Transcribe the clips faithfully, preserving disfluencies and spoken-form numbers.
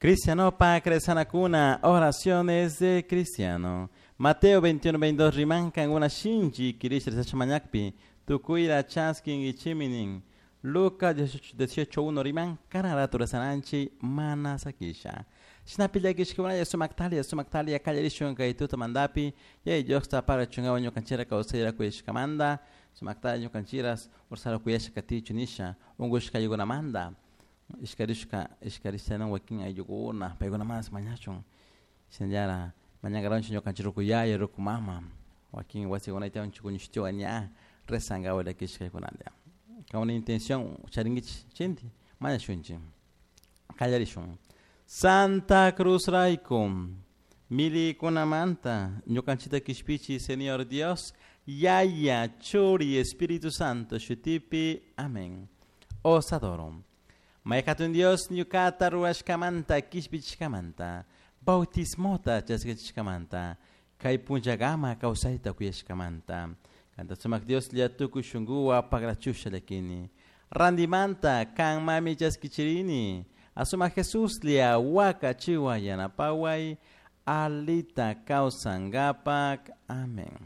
Cristiano pa Cresanacuna, oraciones de cristiano. Mateo veintiuno veintidós rimankan una shinchi kirish mañakpi, tukuira chaskin ichiminin. Lucas dieciocho uno riman karara turasananchi mana sakisha. Shinapillakishkunalla sumaktalia sumaktalia kallarishun kay tuta mandapi, yay Diosta para chungawa ñukanchira kawsayra kuyashkamanta, sumaktalia ñukanchiras ursara kuyasha katichu nisha, ungushka ayukunamanta, ishkarishka ishkarishanan wakin ayllukuna, paykuna mas mañachun. Shinallara mañankaranchik ñukanchik rukuyaya rukumama, wakin wasikunayta chukuñushtiwa ña rezangawa llakishkaykunalla. Con una intención charinguich chinti, mañashunchi. Kallarishun. Santa Cruz Raikum, milikunamanta, ñukanchita kishpichi, Señor Dios, Yaya, Churi, Espíritu Santo, Shutipi, amén. Os adoro. Maykatun Dios, ñukata ruashkamanta, kishpichkamanta, bautismota chaskichkamanta, kay punllagama kawsayta kuyashkamanta. Kanta sumak Dios llatukuy shunkuwa pagrachusha llakini. Randimanta kan mami chaskichirini. Asuma Jesús lia waka chiwa yanapaway alita kawsangapak. Amén.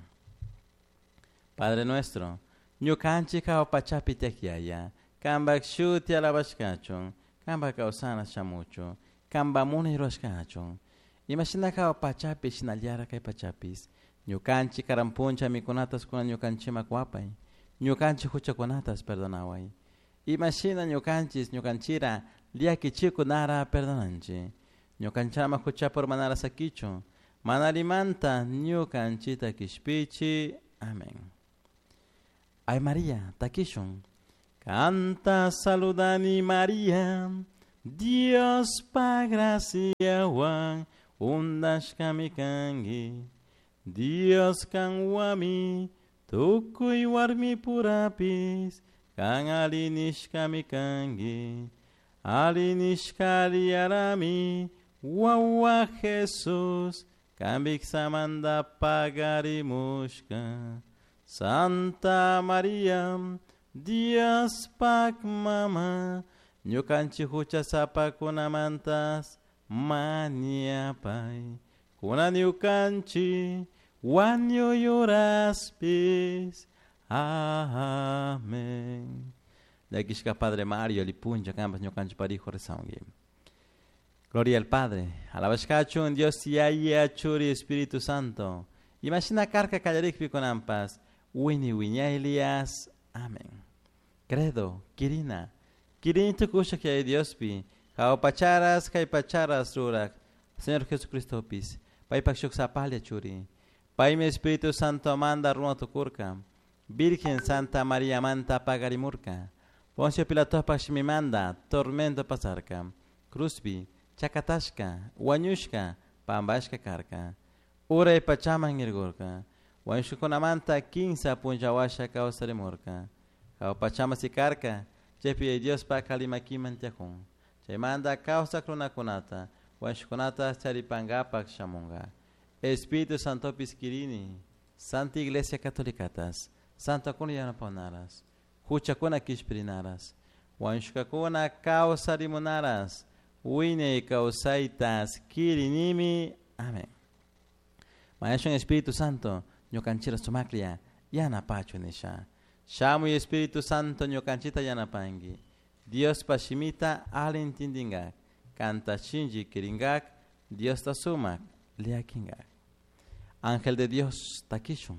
Padre nuestro, ñukanchik pachapi tiakyaya, kambak shuti alabashkachun, kamba kawsana shamuchu, kamba munay ruashkachun. Imashina hawa pachapi shinallara kay pachapis. Ñukanchik karampuncha mikunatas kuna ñukanchimak wapay, ñukanchik huchakunatas perdonaway. Imashina ñukanchis ñukanchira llakichikunara perdonanchi. Ñukanchama huchapur manara sakichu, manalimanta ñukanchita kishpichi. Amén. Ay María, takishun. Canta saludani María, Dios pa gracia wan, undashkami kangi. Dios kanwami, tukuy warmi purapis, kan alinishkami kangi. Alinishkali arami, wawa Jesus, kambiksamanda pagarimushka. Santa María, Dios pak mama, ñukanchik huchasapakunamantas mañapay. Kuna ñukanchik wañuyuraspis. Amén. Llakishka Padre Mario, lipuncha kampas ñukanchik parijo rezaungi. Gloria al Padre, alabashkachun Dios Yaya Churi Espíritu Santo. Imagina karka kallarikpi kunampas, wini wiñaylias. Amén. Credo, Kirina, Kirin tukusha kay Diospi, hawa pacharas kay pacharas rurak, Señor Jesucristo pis, paypak shuk sapalia churi. Paymi Espíritu Santo manda runa tukurka, Virgen Santa María manta pagarimurka, Poncio Pilatopak shimimanda tormento pasarka, Cruzpi, chakatashka, wañushka, pambashka karka, uray pachaman irgurka, wañushkakunamanta kinsa punllawasha kawsarimurka, hawa pachama sikarka, chaypi Diospak kalimakiman tiyakun, chaymanta kawsak runakunata, wañushkakunata charipankapak shamunka. Espíritu Santo piskirini, Santa Iglesia Católicatas, Santa kuna yanapanaras, huchakuna kishpirinaras, wañushkakuna kawsarimunaras, wiñay kawsaytas kirinimi. Amén. Mañashun Espíritu Santo, ñukanchira sumaklia, yanapachu nisha. Shamuy Espíritu Santo ñukanchita yanapangi. Dios pashimita alintindingak, kanta shinji kiringak, Dios ta sumak, liakingak. Ángel de Dios, takishun.